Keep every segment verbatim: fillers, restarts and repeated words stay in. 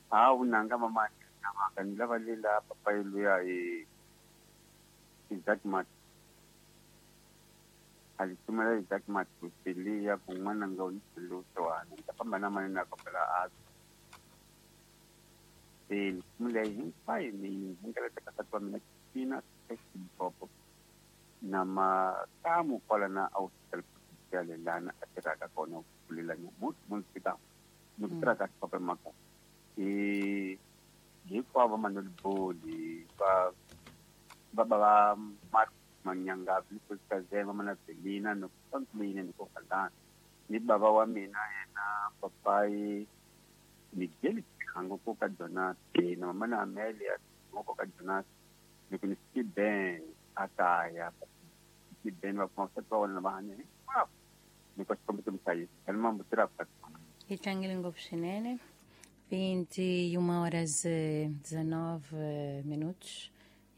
Ha vunanga mama na ni lava lela papayi luya hi Isaac Mat. A li tumela Isaac Mat ya ku n'wananga u ni lutswana ni ta famba na mani na kombela a se nsimu leyi hinkwayo ni yi hlengeleta ka nsati wa mina Christina Limpopo na makamu kwala na ausele lana a tirhaka kona ku kulela nyamuntlha munhu fika ni ku tirhaka papa maka i hinkwavo Manuel Boli va va va Mark Manyanga Kazema mana Belina no mina ni ko kalana ni baba wa mina yena papayi Miguel Kango ko ka Jonas na mama na Amelia ko ka Jonas ni ku ni Ben akaya Ben va kuma swa wona va hanya hinkwavo ni ko xikombiso mhlayisi ka ni mambo tirha Hi tlangele ngopfu swinene. Vinte e uma horas e dezenove minutos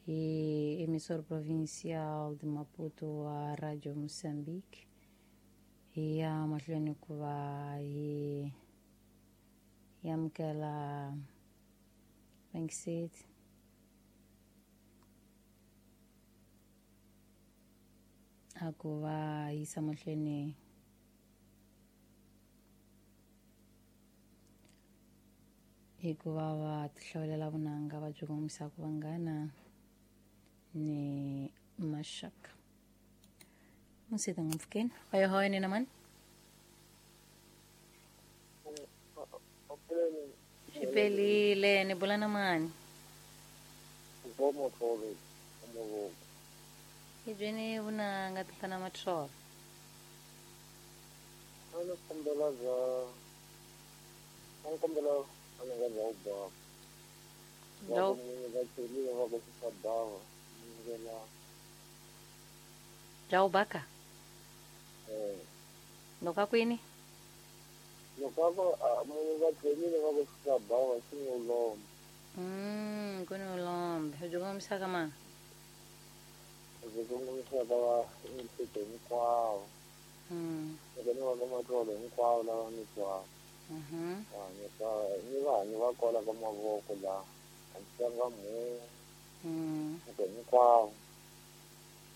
e emissora provincial de Maputo a Rádio Moçambique e a mahlweni ku va hi hi amukela Bankseti a ku va yisa mahlweni hikuva va tihlawulela vunanga va byi kongomisaka vanghana ni maxaka. Musita ngopfukeni hoyo ni na mani xipelile ni bula na mani hi byeni vunanga tatana Matholo. A ni kombela bya a ni kombela a ni nga bya u bava bya va celiwe va ku swa bava ni bya u baka eh loko a kwini loko a ku munhu va celiwe va ku swa bava swi ni ulombe. Mm ku ni ulombe byi kongomisaka mani byi kongomisaka va mihleketo hinkwawo. Mm loko ni va ka Matholo hinkwavo lava ni twaka. Mhm ni va ni va kwala ka mavoko laha a ni tlanga mhungu mm loko hinkwavo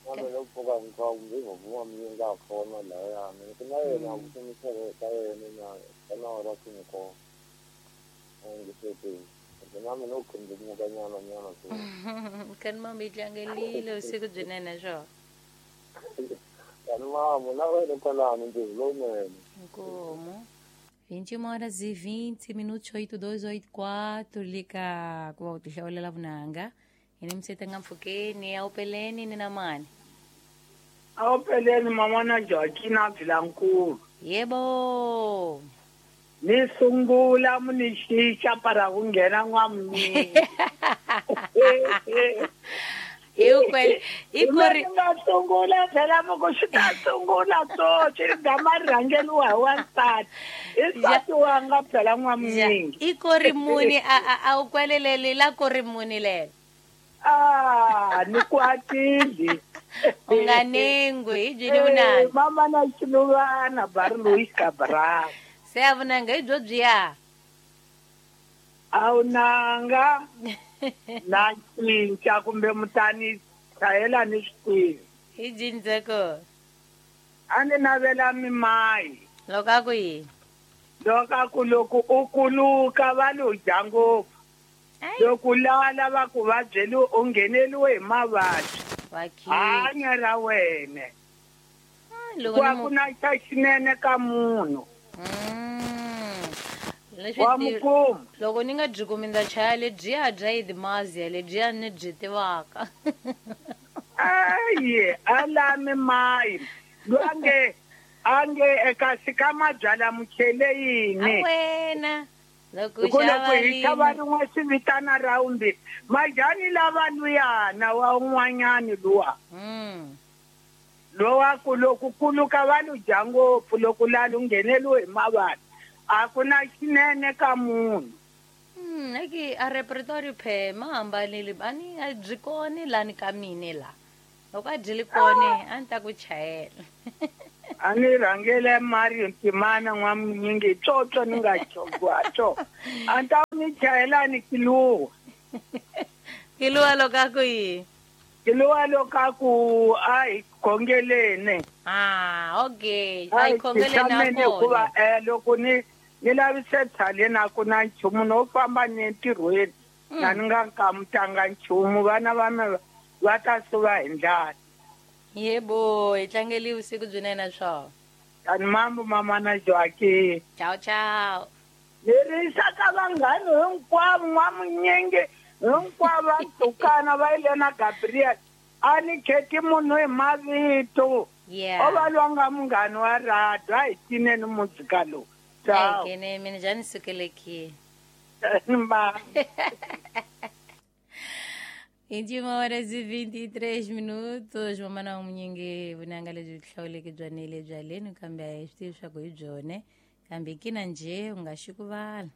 na mina loko pfuka hinkwavo kumbe hi vuma mi nga ha fona lahayani ku na yena ku kumisele ka yena na ka nawu ra cinco a ngiseteni na mina u khindumuka nyana nyana so kani mama yi tlangelile vusiku byinene swo kani mama na wena kwalano ntirho lowunene. Inkomu. Vinte e uma horas e vinte minutos, oito dois oito quatro, lika ku va u tihlawulela vunanga hi ni misete nga mpfhukeni a wu peleni ni na mani a wu peleni mama na Joaquina Vilankulu. Yebo ni sungula mu ni xixa para ku nghena n'wamunini hikwele ikori nga sungula phela moko xi ta sungula so xi gama ri rhangeliwa hi wansati i nsati wanga phela n'wamuningi ikori muni a a a wu kweleleli la kori muni lelo ah ni kwatile u nga nengwi hi byini vunanga mama na xiluvana bari Louis Cabral se a vunanga hi byo byiya a wu nanga na cinca kumbe mutani chayela ni swi tivi hi cinca a ni navela mimayi loko a ku yini loko a ku loko u kuluka va lo dya ngopfu loko lala va ku va byeli u ngheneliwe hi mavabyi hanya ra wena loko ku ku na xa xinene ka munhu wa mukuma loko ni nga byi kumi ndza chaya lebyiya bya idimazia lebyiya ni byi tivaka aye a lami mayi lwange ange eka sika mabyala muchele yini wena loko loko hi xava rin'we swi vitana raundi majani lava luyana wa un'wanyani luwa lowa ku loko kuluka va lu dya ngopfu loko lala u ngheneliwe hi mavabyi a ku na xinene ka munhu. Mm eki a repertoire phe ma hambanile a ni a byi koni lani ka mine la loko a byi li koni a ni ta ku chayela a ni rhangele Mario Ntimana n'wamunyingi tsotso ni nga chogwacho a ni ta Ni chayelani kiluwa. Kiluwa loko a ku yini? Kiluwa loko a ku a hi khongeleni. Ah, okay. A hi khongeleni a hikuva eh loko ni ni lavise tshaleni a ku na nchumu no famba ni entirhweni. Na ni nga kamutanga nchumu vana va mina va ta suva hi ndlala. Yebo, hi tlangeli vusiku byinene swona. Tani mambo mama na Joaquim. Ciao ciao. Lerisa ka vanghani hinkwavo n'wamunyingi hinkwavo va dukana va yile na Gabriel. A ni kheti munhu hi mavito. Yeah. O va lwanga munghani wa radio a hi cineni muzika lowu. Ciao. Ai, mina já ni sukelekile. Ba. vinte e uma horas e vinte e três minutos. Mamana munyingi vunanga lebyi hlawuleke bya nele bya leni kambe a hi swi tivi swa ku hi byone kambe kina njhe u nga xi ku vala.